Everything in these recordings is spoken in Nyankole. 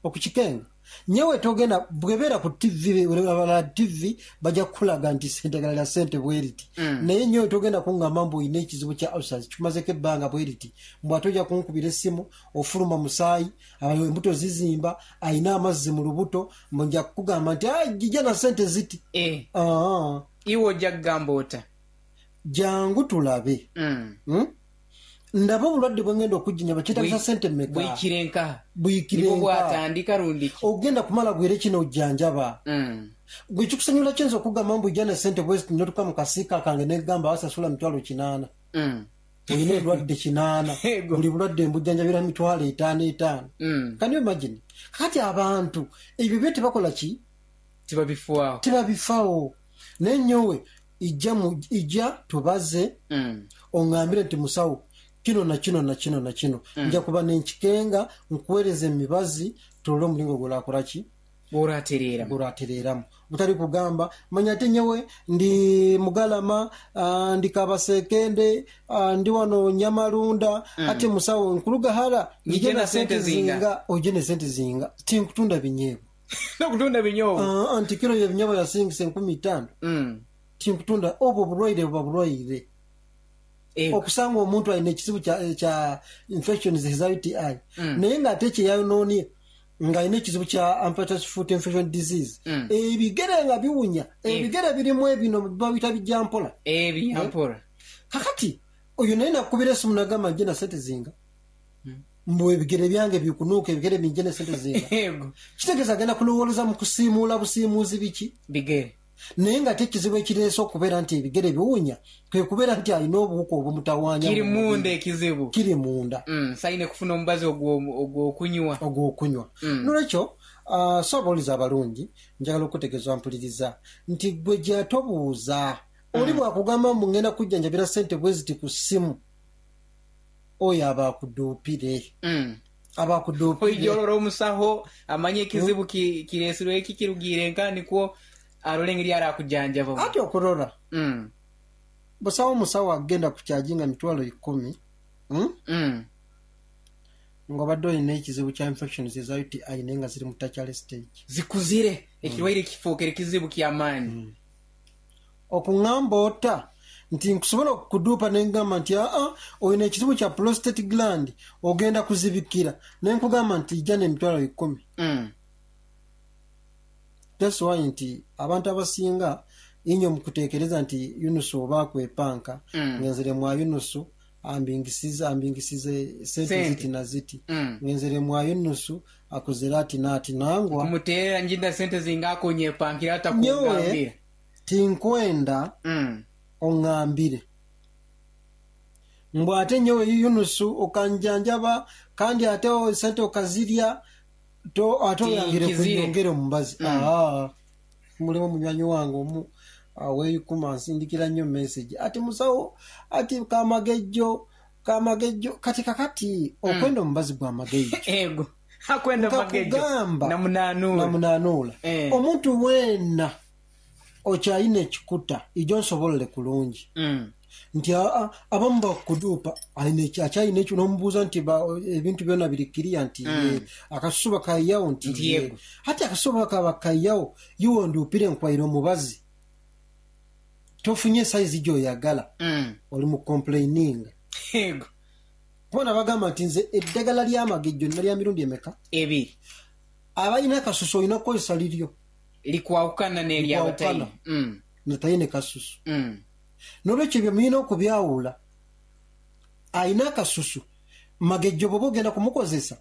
Okukikenga. Nyowe togenda bwebera ku TV abalala TV baja kukulaga nti eddagala lya sente bweriti naye nyowe togenda kungamba mbu olina ekizibu kya ulcers kikumazeko ebbanga bweriti mbu ate oja kunkubira essimu ofuluma musaayi embuto zizimba alina amazzi mu lubuto mbu nja kukugamba nti jija na sente ziti. Aah. Iwe oja kugamba ota? Jangu tulabe. Ndaba obulwadde bwe ngenda okujjanjaba kyetagisa sente mmeka? Bwikire nkaha? Bwikire Nibwo nkaha? bwatandika rundi ki? Ogenda kumala bwire ki n'ojjanjaba? Gwe kikusanyula ki nze okugamba mbu ija ne sente bweziti n'otuuka mu kasiika kange ne nkugamba wasasula mitwalo kinaana? Olina endwadde kinaana, buli bulwadde mbujjanjabira mitwalo etaano etaano. Can you imagine? Kakati abantu ebyo byo tebakola ki? Tibabifaaho. Tibabifaaho. Naye nyowe ija mu, ija tubaze, ongambire nti musawo kino na kino na kino na kino. Nja kuba nenkikenga, nkuwereze emibazi turole omuringo gw'orakora ki? Gw'oratereeramu. Gw'oratereeramu. Butari kugamba manya ate nyowe ndi Mugalama, ndi Kabasekende, ndi wano Nyamarunda, ati musawo nkuruga hara, Nyije na sente zinga. Oije n'esente zinga. Tinkutunda binyeebwa. N'okutunda binyoobwa. Aa, nti kiro y'ebinyoobwa yasingisa enkumi itaano. Tinkutunda. Obwo obulwaire buba bulwaire. Okusanga omuntu alina ekizibu kya, kya infections eza UTI, naye nga ate kye yayonoonie nga alina ekizibu kya amputated foot infection disease, ebigere nga biwunya, ebigere birimu ebino babiyita bijampola. Ebijampola. Kakati oyo naye nakukubira esimu nagamba nje na sente zinga. Mbu ebigere byange bikunuuka, ebigere binje n'esente zinga. Kitegeeza agenda kulowooleza mu kusiimuula busiimuuzi biki? Bigere. Naye nga ate ekizibu ekireese okubeera nti ebigere biwunya kwe kubeera nti alina obuwuka obumutawaanya Kiri mu mubiri. munda ekizibu. Kiri munda. Saine kufuna omubazi ogw'okunywa. Ogw'okunywa. N'olwekyo, so abawulize abalungi, njagala okukutegeeza mpuliriza nti ggwe gy'atobuuza. Oli bw'akugamba mbu ngenda kukujjanjabira sente bweziti ku ssimu, oyo aba akuduupire. Aba akuduupire. Oija olora omusaho amanye ekizibu kireesirwe ki, kirugiire nka, nikwo arole engeri arakujanjabamu. Ati okurora, busawo omusawo agenda kukyajinga mitwalo ikumi, nga obadde olina ekizibu kya infections eza UTI naye nga ziri mu tertiary stage. Zikuzire, ekirwaire kifuukire kizibu kya maani. Okungamba ota nti nkusobola okukuduupa ne nkugamba nti, Aa, olina ekizibu kya prostate gland, ogenda kuzibikira. Ne nkugamba nti ija n'emitwalo ikumi. That's why nti abantu abasinga inho mukutekereza nti Yunusu oba akwepanka, ngenzere mwa Yunusu ambingisize, ambingisize sente ziti na ziti. Ngenzere mwa Yunusu akozere ati n'ati. Nangwa. Nkumuteerera njinda sente zinga akonyepankira Nyowe atakungambira. tinkwenda ongambire mbu ate nyowe Yunusu okanjanjaba kandi ate sente okazirya to ate oyangire Tinkizire. kunyongera omubazi. Aa, mulimu munywanyi wange omu aweikuma ansindikira nnyo message ati musawo ati kamagejjo kamagejjo kati kakati okwenda omubazi gwa magejjo. Ego akwenda magejjo Nkakugamba namunanuula. namunanuula. Omuntu weena okyalina ekikuta ijo nsobolole kulungi nti aa abamu bakuduupa akyalina ekyo n'omubuuza nti ebintu byona biri kiriya nti ye, akasusu bakaiyagho nti Nti ye. yego. Ati akasusu bwekaba bakaiyagho iwe onduupire nkwaire omubazi tofunye saizi gy'oyagala oli mu complaininga. Yego. Kuba nabagamba nti nze eddagala ly'amagejjo nina lya mirundi emeka? Ebiri. Abalina akasusu olina kukozesa liryo. Likwawukana n'ery'abataine. Likwawukana nataine kasusu. N'olwekyo ebyo mulina okubyawula. Alina akasusu, magejjo bw'oba ogenda kumukozesa,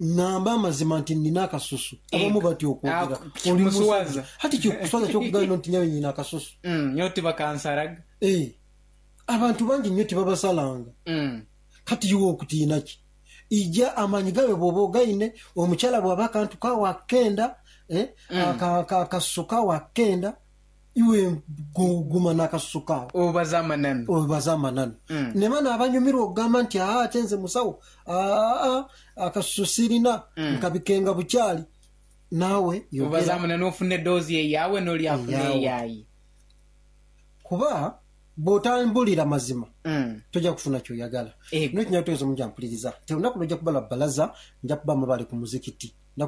ngamba amazima nti nina akasusu. Abamu batya okwogera. Oli musajja. Ati kikuswaza ki okugamba nti nyawe nina akasusu? Nyowe tibakansaraga. Abantu bangi inho tibabasalanga. Kati iwe okutiina ki? Ija amaani gawe bw'oba ogaine, omukyala bw'aba akantu kagho akenda, akasusu kagho akenda, iwe guma n'akasusu kagho. Obaze amananu. Obaze amananu. Memale abanyumirwa okugamba nti, Aa, ate nze musawo, aa, akasusu sirina, nkabikenga bukyali. Naawe yogera. Obaze amananu ofune doozi eyawe n'oli afune eyaye. Kuba bw'otambulira mazima toja kufuna ky'oyagala. N'ekinya kutegeeza omuja mpuliriza nti olunaku lw'oja kuba lwa bbalaza nja kuba mubale ku muzikiti.